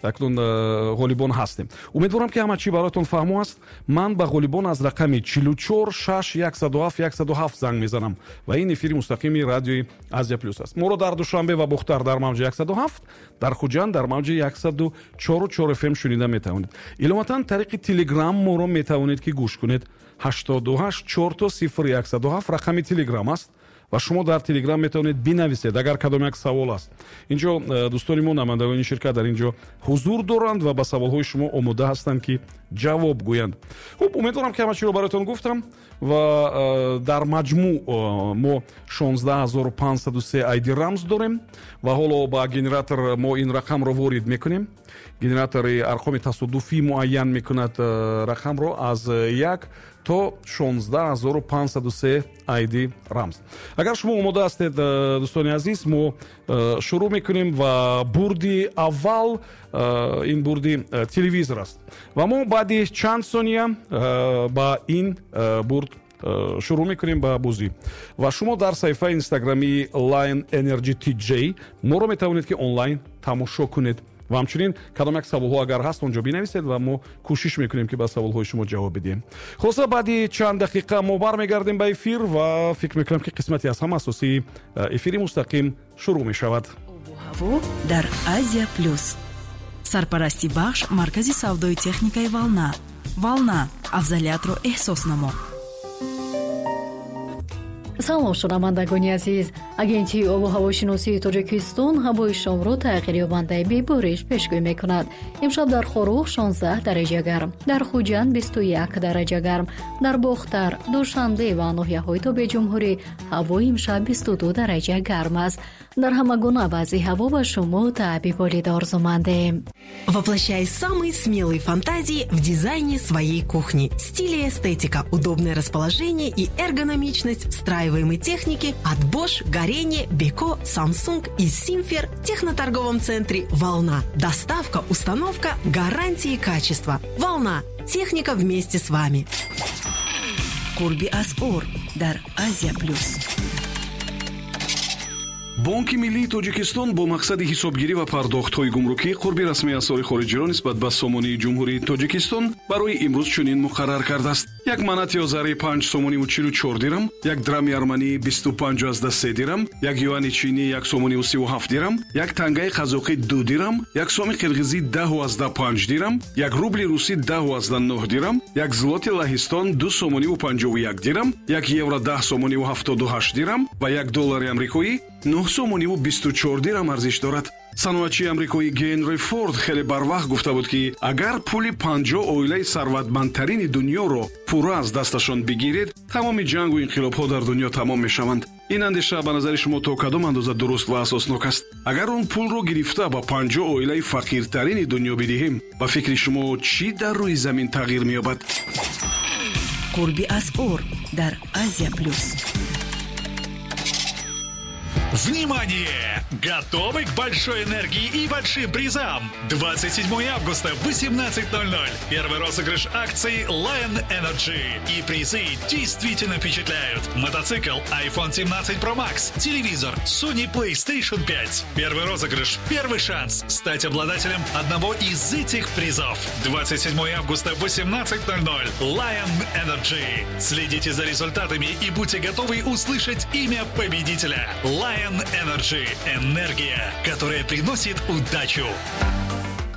Акнун ғолибон ҳастем. Умедворам, ки ҳама чӣ бароятон фаҳмо аст. Ман ба ғолибон аз рақами 44 6 107 107 занг мезанам ва ин эфири мустақими радиои Азия Плюс аст. Моро дар Душанбе ва Бохтар дар мавҷи 107, дар Хуҷанд дар мавҷи 104,4 фм шунида метавонед. Иловатан, тариқи Телеграм моро метавонед, ки гӯш кунед. 88 4 0 107 рақами Телеграм аст ва шумо дар Телеграм метавонед бинависед, агар кадом як савол аст. Инҷо дӯстони мо, намояндагони ширкат, дар инҷо ҳузур доранд ва ба саволҳои шумо омода ҳастанд, ки ҷавоб гӯянд. Хуб, умедворам, ки ҳама чиро бароятон гуфтам ва дар маҷмӯъ мо 16 503 айди рамз дорем ва ҳоло ба генератор мо ин рақамро ворид мекунем. Генератори арқоми тасодуфӣ муайян мекунад рақамро аз 1 то 16 503 айди рамз. Агар шумо омода ҳастед, дӯстони азиз, мо шурӯъ мекунем ва бурди аввал ин бурди телевизор аст ва мо баъди чанд сония ба ин бурд шурӯъ мекунем, ба бозӣ. Ва шумо дар саҳифаи инстаграмии Lion Energy TJ моро метавонед, ки онлайн тамошо кунед ва ҳамчунин кадом як саволҳо агар ҳаст, он ҷо бинависед ва мо кӯшиш мекунем, ки ба саволҳои шумо ҷавоб бидиҳем. Хулоса, баъди чанд дақиқа мо бармегардем ба эфир ва фикр мекунам, ки қисмати аз ҳама асосии эфири мустақим шурӯъ мешавад. Обу ҳаво дар Азия Плюс. Сарпарасти бахш маркази савдои техникаи «Волна». «Волна» — афзалиятро эҳсос намо. Салом, шунавандагони азиз! Агентии обу ҳавошиносии Тоҷикистон ҳавои шомро тағйирёбандаи бебориш пешгӯӣ мекунад. Имшаб дар Хоруғ 16 дараҷа гарм, дар Хуҷанд 21 дараҷа гарм, дар Бохтар, Душанбе ва ноҳияҳои тобеи ҷумҳурӣ ҳавои имшаб 22 дараҷа гарм аст. Дар ҳама гуна вазъи ҳаво ба шумо таъби болида орзумандем. Воплощай самые смелые фантазии в дизайне своей кухни. Стиль и эстетика, удобное расположение и эргономичность встраиваемой техники от Bosch, Gorenje, Beko, Samsung и Simfer в техноторговом центре «Волна». Доставка, установка, гарантии качества. «Волна». Техника вместе с вами. Қурби асъор дар Азия Плюс. Бонки миллии Тоҷикистон бо мақсади ҳисобгирӣ ва пардохтҳои гумрукӣ қурби расмии асъори хориҷиро нисбат ба сомонии Ҷумҳурии Тоҷикистон барои имрӯз чунин муқаррар кардааст: як манати озарӣ 5 сомониву 44 дирам, як драми арманӣ 25,3 дирам, як юани чинӣ 1 сомониву 37 дирам, як тангаи қазоқӣ 2 дирам, як соми қирғизӣ 10,5 дирам, як рубли русӣ 10,9 дирам, як злоти Лаҳистон 2 сомониву 51 дирам, як евро 10 сомониву 78 дирам ва як доллари амрикоӣ 9 сомониву 24 дирам арзиш дорад. Саноатчии амрикоӣ Генри Форд хеле барвақт гуфта буд, ки агар пули 50 оилаи сарватмандтарини дунёро пурра аз дасташон бигиред, тамоми ҷангу инқилобҳо дар дунё тамом мешаванд. Ин андеша ба назари шумо то кадом андоза дуруст ва асоснок аст? Агар он пулро гирифта ба 50 оилаи фақиртарини дунё бидиҳем, ба фикри шумо, чӣ дар рӯи замин тағйир меёбад? Қурби асъор дар Азия Плюс. Внимание! Готовы к большой энергии и большим призам? 27 августа, 18:00. Первый розыгрыш акции Lion Energy. И призы действительно впечатляют. Мотоцикл, iPhone 17 Pro Max, телевизор, Sony PlayStation 5. Первый розыгрыш, первый шанс стать обладателем одного из этих призов. 27 августа, 18:00. Lion Energy. Следите за результатами и будьте готовы услышать имя победителя. Lion Energy. Энергия, которая приносит удачу.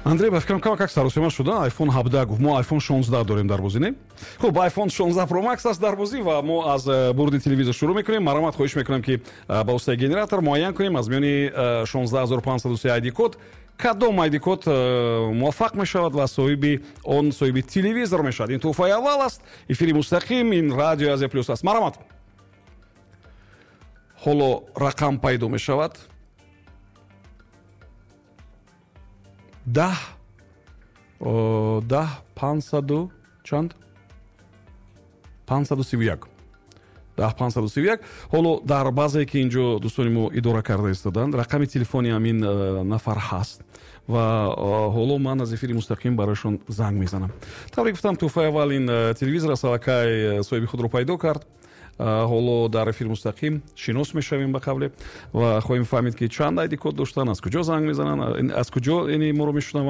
Андрей, ба фикрам, кама как саросема шуда. iPhone 17 гуфт, мо iPhone 16 дорем дар бозӣ, не? Хуб, iPhone 16 Pro Max аст дар бозӣ ва мо аз бурди телевизор шурӯъ мекунем. Марҳамат, хоҳиш мекунам, ки ба воситаи генератор муайян кунем, аз миёни 16 503 айди код кадом айди код муваффақ мешавад ва соҳиби он, соҳиби телевизор мешавад. Ин тӯҳфаи аввал аст. Эфири мустақим, ин радио Азия Плюс аст. Марҳамат, ҳоло рақам пайдо мешавад: 10 10 500 чанд? 531, 10 531. Ҳоло дар баъзе, ки инҷо дӯстони мо идора карда истоданд, рақами телефони ҳамин нафар ҳаст ва ҳоло ман аз эфири мустақим барояшон занг мезанам. Тавре гуфтам, тӯҳфаи аввал ин телевизор аст, аллакай соҳиби худро пайдо кард. Ҳоло дар эфир мустақим шинос мешавем, ба қавле, ва хоҳем фаҳмид, ки чанд айди код доштанд, аз куҷо занг мезананд, аз куҷо яъне моро мешунаванд.